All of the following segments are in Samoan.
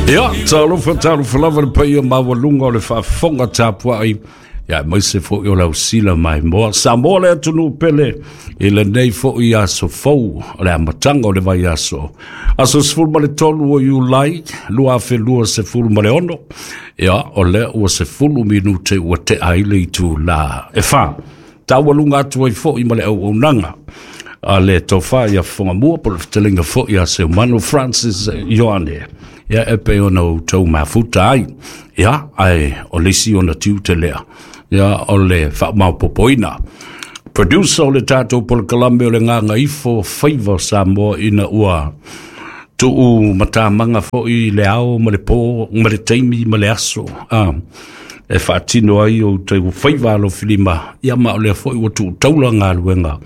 Ia, talofa talofa lava le paia maualuga o le faafofoga tapuai, ia aemaise foi o le ausila maimoa Samoa le atunuu pele i lenei foi aso fou o le amataga o le vaiaso, aso 13 o Iulai 2026. Ia, o lea ua 10 minute ua tea ai le itula e 4. Taualuga atu ai foi ma le auaunaga a le tofa ia Fofogamua po o le fetalaiga foi a Seumanu Francis Ioane, ia e pei ona outou mafuta ai. Ia, ae o le isi ona tiute lea, ia o le faamaopopoina. Producer o le tatou polokalame o le Gagaifo Faiva o Samoa, ina ua tuu matamaga foi le ao ma le po ma le taimi ma le aso e faatino ai o outou faiva alofilima, ia ma o lea foi ua tuu taula galuega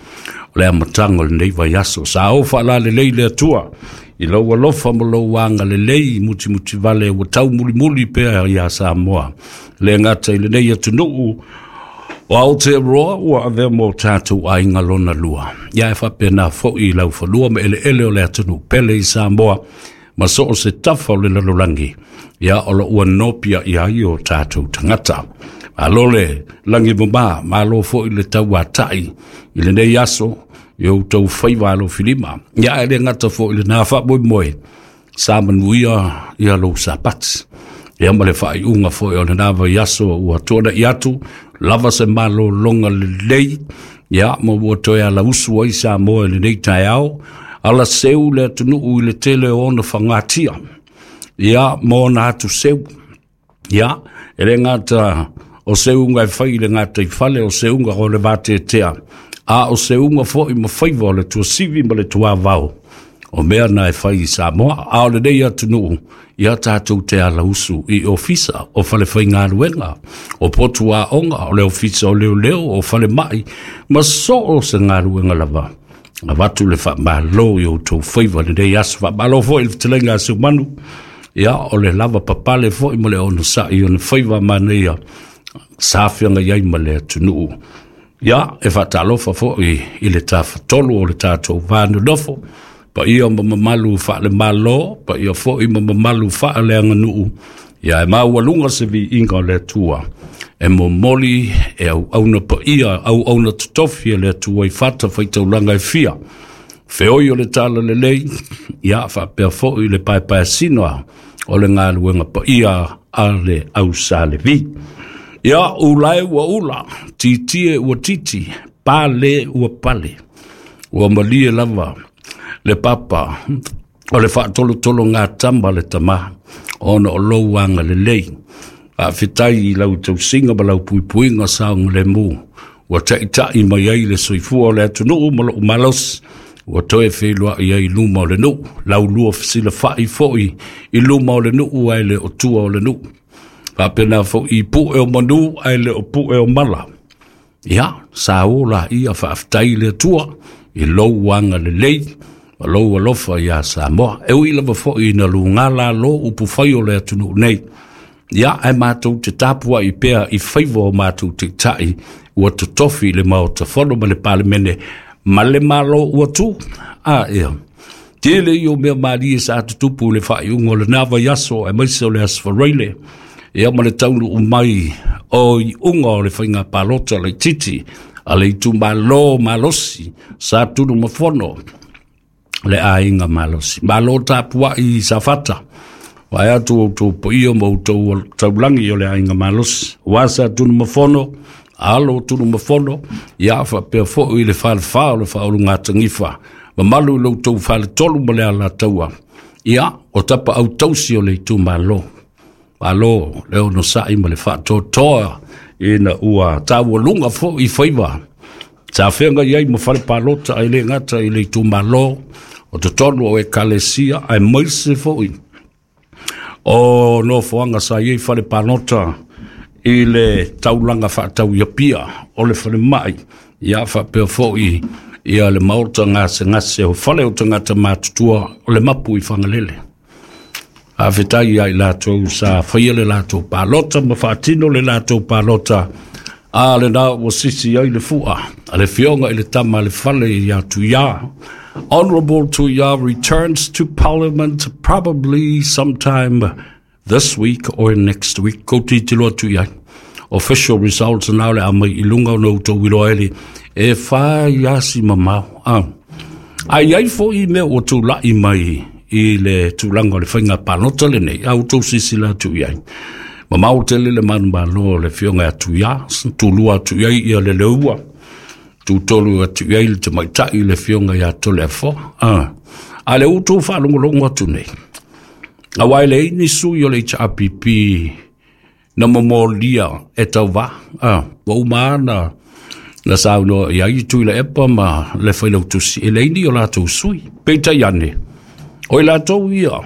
o le amataga o lenei vaiaso. Sa o faalalelei le Atua i lou alofa ma lou agalelei mutimutivale ua taumulimuli pea ia Samoa, le gata i lenei atunuu o Aotearoa ua avea mo tatou aiga lona lua, ia e faapena foi i laufanua ma eleele o le atunuu pele i Samoa ma so o se tafa o le lalolagi, ia o lo ua nopia i ai o tatou tagata. Malo le lagi mama, malo foi le tauatai i lenei aso i outou faiva alofilima. Ia e le gata foi i lena faamoemoe, sa manuia ia lou Sapati, ia ma le faaiuga foi o lena vaiaso ua tuanai atu, lava se malologa lelei, ia ma ua toe alausu ai Samoa i lenei taeao, ala seu le atunuu i le tele o ona fagatia, ia ma ona atu seu. Ia, e le gata o seuga e fai i le gataifale, o seuga o le vateatea, a o seuga foi ma faiva o le tuasivi ma le tuavao, o mea na e fai i Samoa. A o lenei atunuu, ia tatou te alausu i ofisa o falefaigaluega, o potu aoga, o le ofisa o leoleo, o falemai, ma so o se galuega lava. Avatu le faamalo i outou faiva lenei aso. Faamalo foi i le fetalaiga a Seumanu, ia o le lava papale foi ma le onosai o le faiva manaia sa feagai ai ma le atunuu. Ia, e faatalofa foi i le tafatolu o le tatou va nonofo, paia ma mamalu faale-Malo, paia foi ma mamalu faaleaganuu, ia e maualuga se viiga o le Atua e momoli e auauna paia, auauna totofi e le Atua i fata faitaulaga e fia, feoi o le tala lelei, ia faapea foi le paepaeasina o le galuega paia a le au Sa Levi. Ia, ulae ua ula, titie ua titi, pale ua pale, ua malie lava le papa o le faatolotolo tama le tama, ona o lou agalelei. Faafetai i lau tausiga ma lau puipuiga saogalemu ua taitai mai ai le soifua o le atunuu ma lou malosi, ua toe feiloai ai i luma o le nuu, laulua fesilafai foi i luma o le nuu ae le o tua o le nuu. Faapena foi i pue o manu ae le o pue o mala. Ia, sa o la ia faafetai i le Atua i lou agalelei ma lou alofa ia Samoa. E ui lava foi ina luga lalo upufai o le atunuu nei, ia ae matou te tapuai pea i faiva o matou taitai ua totofi i le Maota Fono ma le Palemene ma le Malo ua tu. A ia, tele ia o mea malie sa tutupu i le faaiuga o lena vaiaso aemaise o le aso Faraile, ia ma le taunuu mai o iuga o le faiga palota laitiiti a le itumalo malosi sa Tunumafono, le aiga malosi. Malo tapuai i Safata, vae atu outou paia ma outou taulagi o le aiga malosi, ua sa Tunumafono, alo Tunumafono, ia faapea foi le falefa o le faaulugatanifa, mamalu i lo outou faletolu ma le alataua, ia o tapa autausi o le itumalo. Malo le onosai ma le faatoatoa ina ua taualuga foi faiva sa feagai ai ma fale palota, ai le gata i le itumalo o totonu o ekalesia, aemaise foi o nofoaga sa i ai fale palota i le taulaga faatau i Apia o le falemai, ia faapea foi ia le maota gasegase o fale o tagata matutua o le mapu i Fagalele. Faafetai ia i latou sa faia le latou palota ma faatino le latou palota, a lena ua sisi ai le fua a le fioga i le tama a le fale ia Tuia. Honourable Tuia returns to Parliament probably sometime this week or next week. Kou tilotilo atu i ai. Official results na o le a mai i luga ona outou iloa ai le e fai lava si mamao. A i ai foi mea ua tulai mai i le tulaga o le faiga palota lenei, a outou silasila atu i ai. Mamao tele le manumalo o le afioga ia Tuia, tulua atu i ai ia le Leua, tutolu atu i ai le tamaitai le afioga ia Toleafoa. A le outou faalogologo atu nei, aua e leai ni sui o le HRPP na momolia e tauvā. Ua uma lava na saunoa i ai Tuilaepa ma le Failautusi, e leai ni o latou sui. Peitai ane, o i latou ia